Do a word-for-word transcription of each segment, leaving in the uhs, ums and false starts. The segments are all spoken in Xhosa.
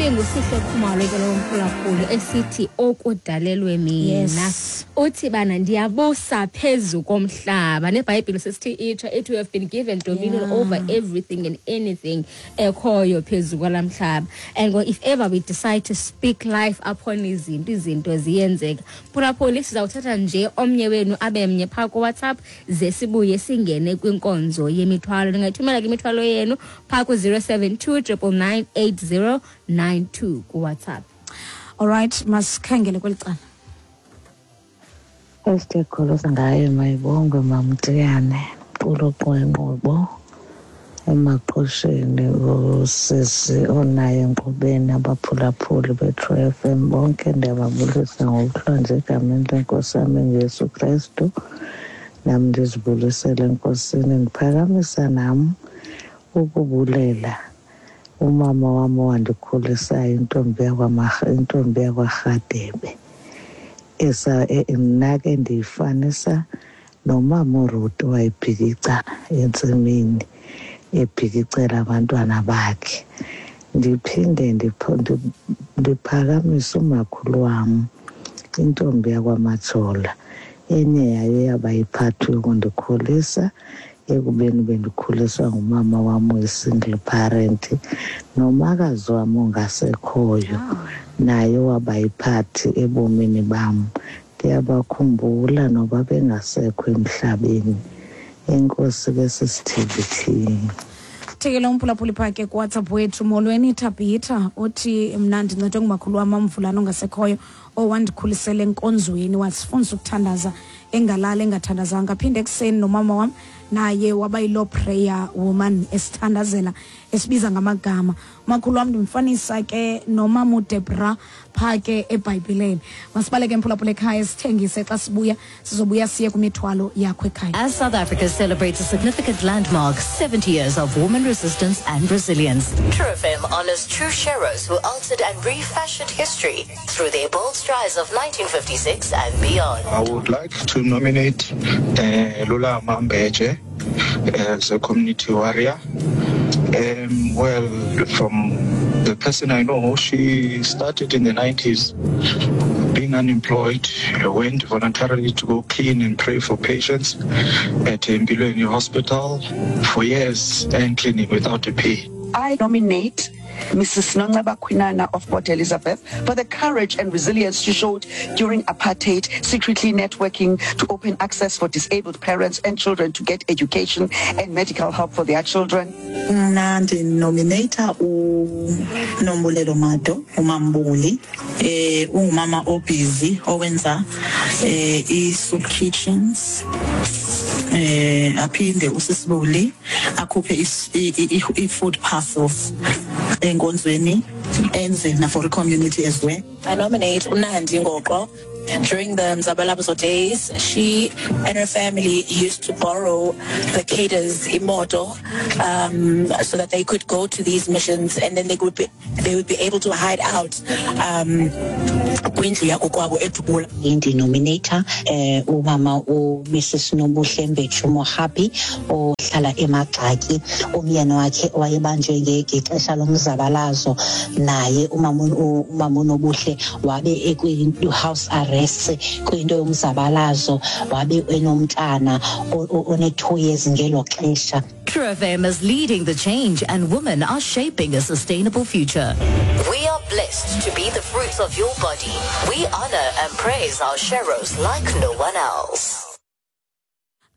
IbinguSihle Khumalo ke lo mphulaphuli esithi okudalelwe mina. Yes. Uthi bana ndiyabusa phezu komhlaba. NeBhayibhile sesithi itsho ethi we have been given dominion Yeah. over everything and anything ekhoyo phezu kwalamhlaba. And if ever we decide to speak life upon izinto, izinto ziyenzeka. Mphulaphuli, sizawuthatha nje omnye wenu abe mnye phaa kuWhatsApp ze sibuye singene kwinkonzo yemithwalo. Ningayithumela ke imithwalo yenu phaa ku-zero seven two triple nine eight zero nine two kuWhatsApp. All right, masikhangele kweli cala. Esithekholose ngayo mayibongwe Mamtiyane, quluqu wenqubo emaqosheni, usisi onayo enkqubeni, abaphulaphuli beTrue F M bonke ndiyababulisa ngokuhlonje egameni lenkosi yam enguYesu Krestu. Nam ndizibulisele enkosini, ndiphakamisa nam ukubulela umama wam owandikhulisayo, intombi yakwaMarha, intombi yakwaRhadebe. Esa, e, mna ke ndiyifanisa nomama uRuth owayebhikica entsimini, ebhikicela abantwana bakhe. Ndiphinde ndipho-, ndi-, ndiphakamise umakhulu wam, intombi yakwaMajola, enye yayo yaba yiphathi yokundikhulisa ekubeni bendikhuliswa ngumama wam oyi-single parent, nomakazi wam ongasekhoyo naye waba yiphathi ebomini bam. Ndiyabakhumbula noba bengasekho emhlabeni. Enkosi ke sisithembithini. Thekela umphulaphuli phaa ke kuWhatsApp wethu. Molweni Tabitha, uthi mna ndincedwe ngumakhulu wam Amvulane ongasekhoyo, owandikhulisela enkonzweni, wasifundisa ukuthandaza engalali engathandazanga. Aphinde ekuseni nomama wam naye waba yiloo prayer woman, esithandazela, esibiza ngamagama. Umakhulu wam ndimfanisa ke nomama uDebra phaa ke eBhayibhileni. Masibaleke mphulaphula ekhaya, sithengise, xa sibuya sizobuya siye kwimithwalo yakho ekhaya. As South Africa celebrates a significant landmark, seventy years of woman resistance and resilience, True F M honors true sheroes who altered and refashioned history through their bold strides of nineteen fifty-six and beyond. I would like to nominate, uh, Lula Mambeje as a community warrior. Um, well, from the person I know, she started in the nineties being unemployed, went voluntarily to go clean and pray for patients at Mbilweni Hospital for years and cleaning without a pay. I nominate Missus Nonceba Kwinana of Port Elizabeth for the courage and resilience she showed during apartheid, secretly networking to open access for disabled parents and children to get education and medical help for their children. Mna ndinominata uNombulelo Mado, uMambuli, eh, ungumama obhizi owenza, eh, i-soup kitchens. Eh, aphinde usisibuli akhuphe is-, i-, i-, i-, i-food parcels enkonzweni, enze na for the community as well. I nominate uNandi Ngoqo. During the Mzabalazo days, she and her family used to borrow the cadres imoto, um, so that they could go to these missions, and then they would be, they would be able to hide out. Um, kwindlu yakokwabo eDubula. Indinominator, eh, umama u Missus Nobuhle Mbetshu Mohapi ohlala eMagxaki, umyeni wakhe wayebanjwe ngexesha lomzabalazo, naye umama u-, umama uNobuhle wabe ekwi house arrest kwinto yomzabalazo, wabe enomntana o-, o-, one two years ngelo xesha. True F M is leading the change, and women are shaping a sustainable future. We are blessed to be the fruits of your body. We honor and praise our sheroes like no one else.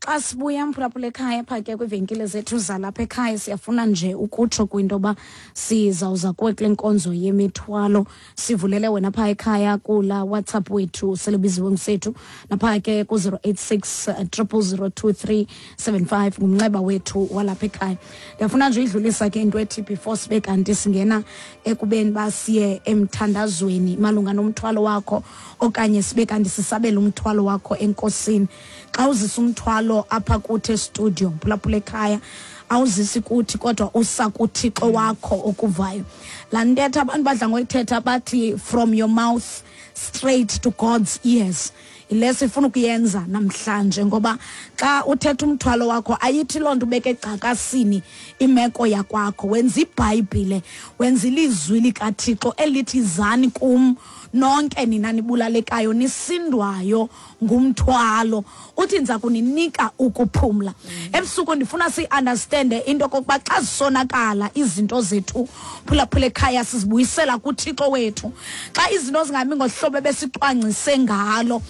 Xa sibuya mphulaphula ekhaya phaa ke kwiivenkile zethu zalapha ekhaya, siyafuna nje ukutsho kwinto yoba sizawuza kuwe kule nkonzo yemithwalo. Sivulele wena phaa ekhaya kula WhatsApp wethu selebiziwe ngusethu, naphaa ke ku zero eight six, triple zero two three seven five ngumnxeba wethu walapha ekhaya. Ndiyafuna nje uyidlulisa ke into ethi before sibe kanti singena ekubeni uba siye emthandazweni malunga nomthwalo wakho, okanye sibe kanti sisabela umthwalo wakho enkosini. Xa uzisa umthwalo apha kuthi estudio, mphulaphula ekhaya, awuzisi kuthi kodwa usa kuThixo wakho okuvayo. Laa ntetha abantu badla ngoyithetha bathi from your mouth straight to God's ears. Ile sifuna ukuyenza namhlanje, ngoba xa uthetha umthwalo wakho ayithi loo nto ubeke egcakasini imeko yakwakho. Wenza iBhayibhile, wenza ilizwi likaThixo elithi zani kum nonke nina nibulalekayo nisindwayo ngumthwalo, uthi ndiza kuninika ukuphumla. Ebusuku ndifuna si-understande into kokuba xa zisonakala izinto zethu, phulaphula ekhaya, sizibuyisela kuThixo wethu. Xa izinto zingami ngohlobo ebesicwangcise ngalo,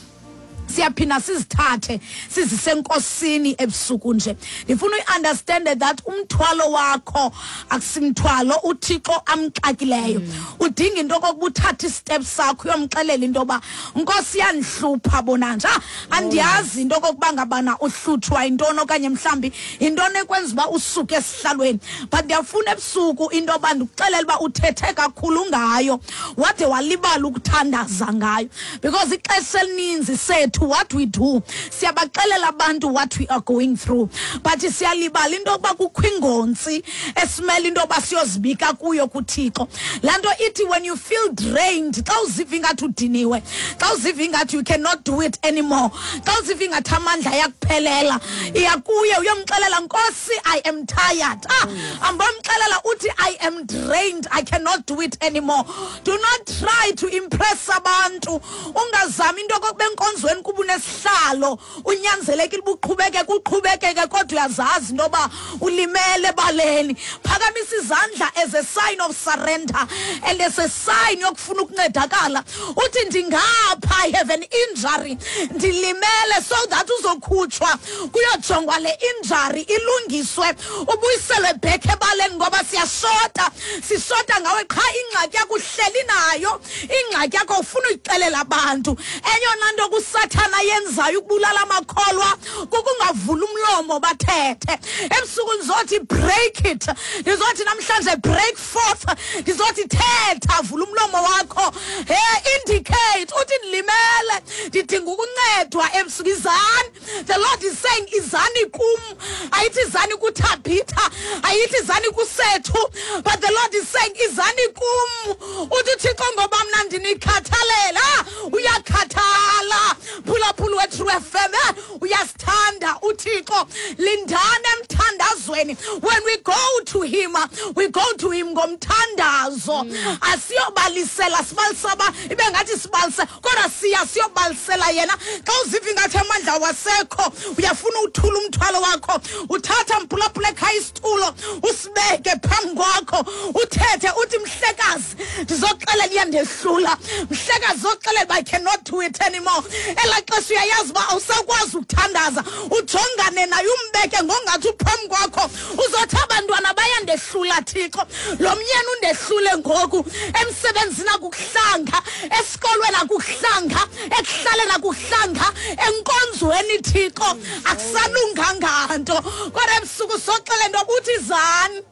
siyaphinda sizithathe sizise enkosini ebusuku nje. Ndifuna uyi-understande that umthwalo wakho akusimthwalo uThixo amxakileyo. Udinga into okokuba uthathe istep sakho uyomxelela into yoba Nkosi yandihlupha bona nje, andiyazi into okokuba ngabana uhlutshwa yintoni okanye mhlawumbi yintoni ekwenza uba usuke esihlalweni, but ndiyafuna ebusuku into yoba ndikuxelele uba uthethe kakhulu ngayo wade walibala ukuthandaza ngayo, because ixesha elininzi sethu what we do, siyabaxelela abantu what we are going through, but siyalibala into yokuba kukho ingontsi esimele into yoba siyozibika kuyo kuThixo. Laa nto ithi when you feel drained, xa uziva ingathi udiniwe, xa uziva ingathi you cannot do it anymore, xa uziva ingathi amandla ayakuphelela, iya kuye uyomxelela, Nkosi, I am tired. Ah, ambomxelela uthi I am drained, I cannot do it anymore. Do not try to impress abantu. Ungazami into yokokuba enkonzweni kuba unesihlalo unyanzelekile uba uqhubekeke uqhubekeke, kodwa uyazazi into yoba ulimele ebaleni. Phakamisa izandla as a sign of surrender and as a sign yokufuna ukuncedakala. Uthi ndingapha, I have an injury, ndilimele, so that uzokhutshwa kuyojongwa le injury ilungiswe, ubuyiselwe back ebaleni, ngoba siyashota, sishota ngawe qha. Ingxaki yakho uhleli nayo, ingxaki yakho ufuna uyixelela abantu. Eyona nto kusathana yenzayo ukubulala amakholwa kukungavula umlomo bathethe. Ebusuku ndizothi break it, ndizothi namhlanje break forth, ndizothi thetha, vula umlomo wakho, hey, indicate uthi ndilimele, ndidinga ukuncedwa ebusuku. Izani, the Lord is saying izani kum, ayithi izani kuThabitha, ayithi izani kusethu, but the Lord is saying izani kum. Uthi uThixo ngoba mna ndinikhathalela. Uyakhathala, phulaphula weTrue F M, uyasithanda uThixo. Lindani emthandazweni. When we go to him, we go to him ngomthandazo. Asiyobalisela, sibalisaba ibe ngathi sibalise, kodwa siya siyobalisela yena. Xa uziva ingathi amandla wasekho, uyafuna uthula umthwalo wakho, uthatha mphulaphula ekhaya isitulo usibeke phambi kwakho, uthethe uthi mhlekazi ndizoxelela iyandehlula, mhlekazi zoxelela uba I cannot do it anymore. Elaa xesha uyayazi uba awusakwazi ukuthandaza, ujongane naye umbeke ngongathi uphambi kwakho, uzothi abantwana bayandehlula Thixo, lo myeni undehlule ngoku, emsebenzini akukuhlanga, esikolweni akukuhlanga, ekuhlaleni akukuhlanga, enkonzweni Thixo akusalunganga nto. Kodwa ebusuku soxele nto uthi zani,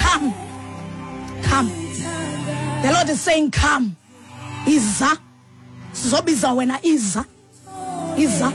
come, come. The Lord is saying come. Iza, sizobiza wena, iza, iza.